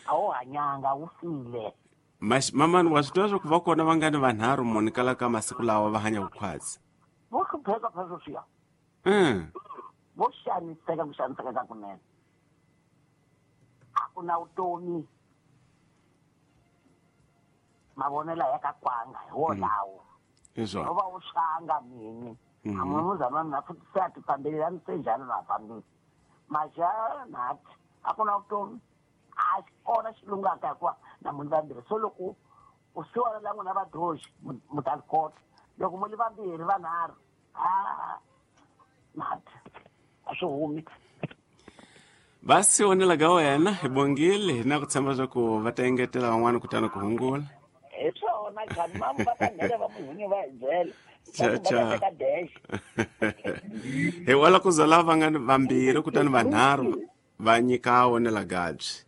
A wu hanyanga, wu file. Mamani, wa swi tiva swa ku va kona va nga ni vanharhu muni kala ka masiku lawa va hanya vukhwatsi. Vo hlupheka phela sweswiya. Vo xaniseka ku xaniseka ka kunene. A ku na vutomi. Mavonelo ya ka kwanga hi wolawo. Hi swona. No va wu xanga mini. A munhu wa mina futhi se a ti fambeli a ni se njhani na fambile. Maja nathi a ku na vutomi. A xi kona xi lungaka hikuva na munhu vambirhi. So loko u siwana la n'wina vadyohi mu ta kota. Loko mu li vambirhi vanharhu, a nathi a swi humi. Va si onela ka wena hi bongile, hi na ku tshemba swa ku va ta engetela van'wana kutani ku hungula. Hi swona khani mamu va ta nghena va muhunyi va hi byela. Cha, cha. Va teka dash. Hi wala ku za lava nga ni vambirhi kutani vanharhu va nyika onela gabyi.